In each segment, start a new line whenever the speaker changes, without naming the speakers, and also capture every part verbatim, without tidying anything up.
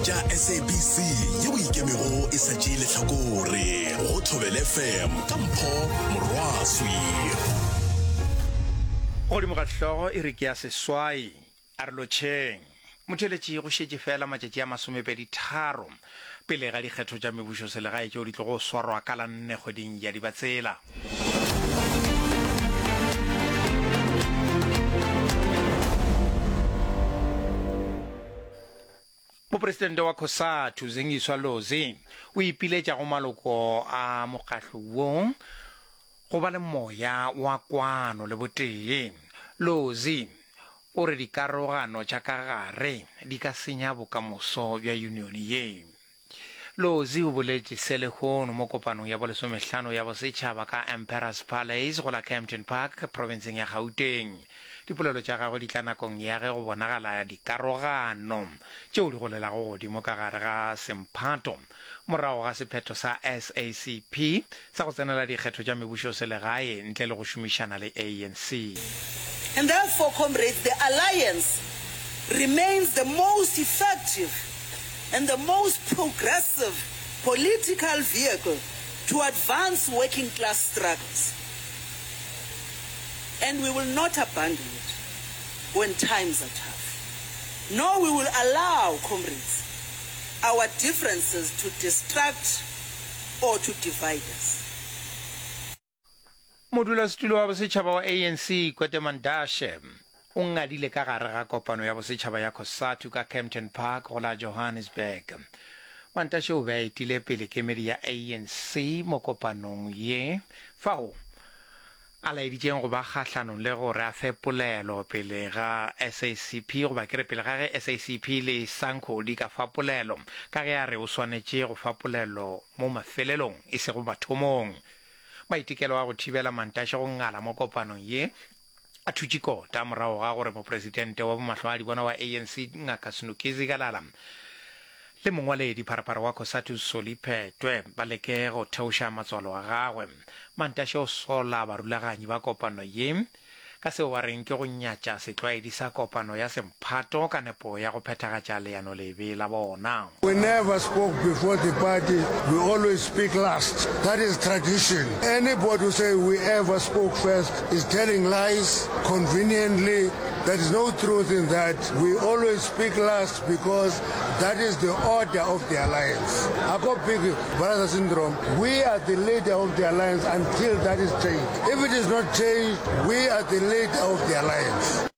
tša SABC yeo e ikemego e sa tšee lehlakore go Thobela FM ka Mpho Morwaswi.
Godimo ga hlogo e re ke ya seswai, a re lotšheng. Motheeletši go šetše fela matšatši a masomepedi tharo pele ga dikgetho tša mebušoselegae tšeo di tlogo swarwa ka la nne kgweding ya Dibatsela. Mopresidente wa Cosatu, Zingiswa Losi, o ipiletša go maloko a mokgatlo wo go ba le moya wa kwano le botee. Losi o re dikarogano tša ka gare di ka senya bokamoso bja yunione ye. Lozi o boletše se lehono mo kopanong ya bolesomehlano ya bosetšhaba ka Emperors Palace go la Kempton Park, profenseng ya Gauteng. Dipolelo tša gagwe di tla nakong ya ge go bonagala dikarogano tšeo di golelago godimo ka gare ga semphato morago ga sephetho sa SACP sa go tsenela dikgetho tša mebušoselegae ntle le go šomišana le ANC.
And therefore, comrades, the alliance remains the most effective and the most progressive political vehicle to advance working class struggles. And we will not abandon it when times are tough. Nor we will allow, comrades, our differences to distract or to divide us.
Modulasetulo wa bosetšhaba wa ANC, Gwede Mantashe, o ngadile ka gare ga kopano ya bosetšhaba ya Cosatu ka Kempton Park go la Johannesburg. Mantashe o be a etile pele kemedi ya ANC mo kopanong ye, fao a laeditšeng go ba kgahlanong le gore a fe polelo pele ga SACP goba ke re pele ga ge SACP le SANCO di ka fa polelo, ka ge a re o swanetše go fa polelo mo mafelelong e sego mathomong. Maitekelo a go thibela Mantashe go ngala mo kopanong ye a thutše kota morago ga gore mopresidente wa bomahlwaadibona wa ANC Ngaka Snuki Zikalala le mongwaledi pharapara wa Cosatu Solly Phetoe ba leke go theoša matswalo a gagwe. Mantashe o sola barulaganyi ba kopano ye ka seo ba reng ke go nyatša setlwaedi sa kopano ya semphato ka nepo ya go phethagatša leano lebe la bona.
We never spoke before the party, we always speak last. That is tradition. Anybody who say we ever spoke first is telling lies conveniently. There is no truth in that. We always speak last because that is the order of the alliance. Ako big brother syndrome. We are the leader of the alliance until that is changed. If it is not changed, we are the leader of the alliance.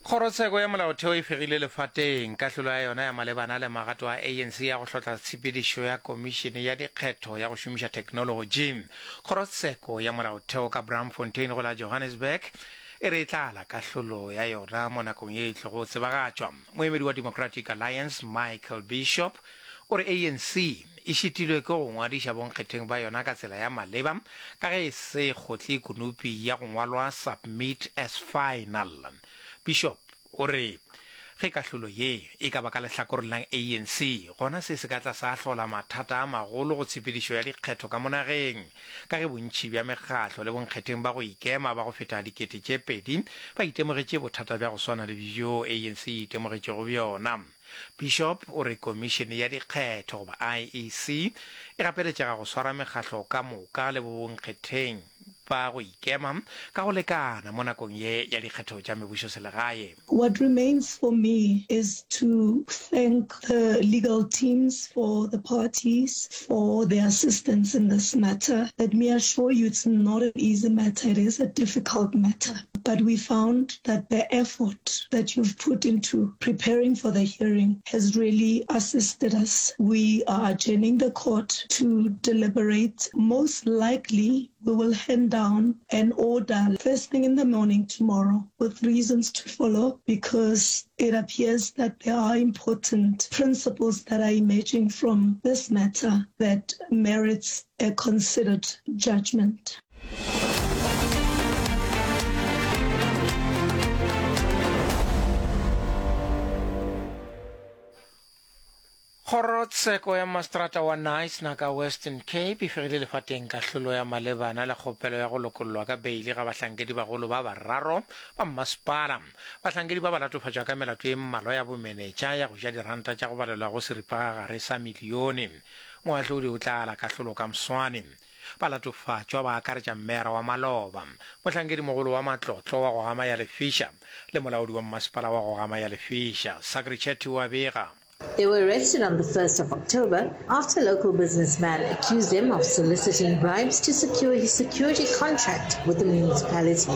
Kgorotsheko ya Molaotheo e fegile lefateng kahlolo ya yona ya malebana le magato a ANC ya go hlotla tshepedišo ya Komišene ya Dikgetho ya go šomiša theknolotši. Kgorotsheko ya Molaotheo ka Braamfontein go la Johannesburg e re e tla ala kahlolo ya yona mo nakong ye e tlogo tsebagatšwa. Moemedi wa Democratic Alliance Michael Bishop o re ANC e šitilwe ke go ngwadiša bonkgetheng ba yona ka tsela ya maleba ka ge e se kgotle konopi ya go ngwalwa submit as final. Bishop o re ge kahlolo ye e ka ba ka lehlakoreng la ANC gona se se ka tla sa hlola mathata a magolo go tshepedišo ya dikgetho ka mo nageng ka ge bontši bja mekgatlo le bonkgetheng ba go ikema ba go feta dikete tše pedi ba itemogetše bothata bja go swana le bjo ANC e itemogetšego bjona. Bishop o re komišene ya dikgetho goba IEC e gapeletšega go swara mekgatlo ka moka le bonkgetheng ba go ikema ka go lekana mo nakong ye ya dikgetho tša mebušoselegae.
What remains for me is to thank the legal teams for the parties for their assistance in this matter. Let me assure you it's not an easy matter, it is a difficult matter. But we found that the effort that you've put into preparing for the hearing has really assisted us. We are adjourning the court to deliberate. Most likely, we will hand down an order first thing in the morning tomorrow with reasons to follow, because it appears that there are important principles that are emerging from this matter that merits a considered judgment.
Kgorotsheko ya Maseterata wa Knysna ka Western Cape e fegile lefateng kahlolo ya malebana le kgopelo ya go lokollwa ka beili ga bahlankedibagolo ba bararo ba mmasepala. Bahlankedi ba ba latofatšwa ka melato ye mmalwa ya bomenetša ya go ja diranta tša go balelwa go seripagagare sa milione. Moahlodi o tla ala kahlolo ka moswane. Balatofatšwa ba akaretša mmeara wa maloba, mohlankedimogolo wa matlotlo wa go gama ya lefiša le molaodi wa mmasepala wa go gama ya lefiša. Sakri Chetty o a bega.
They were arrested on the first of October after a local businessman accused them of soliciting bribes to secure his security contract with the municipality.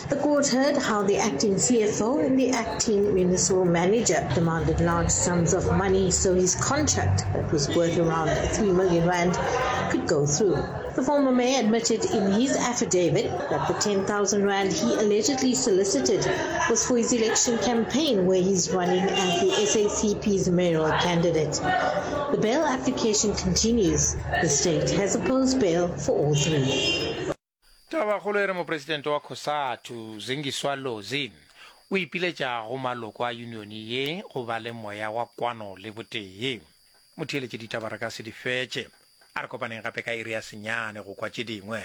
The court heard how the acting C F O and the acting municipal manager demanded large sums of money so his contract, that was worth around three million rand, could go through. The former mayor admitted in his affidavit that the ten thousand rand he allegedly solicited was for his election campaign, where he's running as the S A C P's mayoral candidate. The bail application continues. The state has opposed bail for all three.
Tabakgolo e re mopresidente wa COSATU, Zingiswa Lozi, o ipiletša go maloko a unione ye go ba le moya wa kwano le botee. Motheeletše ditaba re ka se di fetše. A re kopaneng gape ka iri ya senyane go kwa tše dingwe.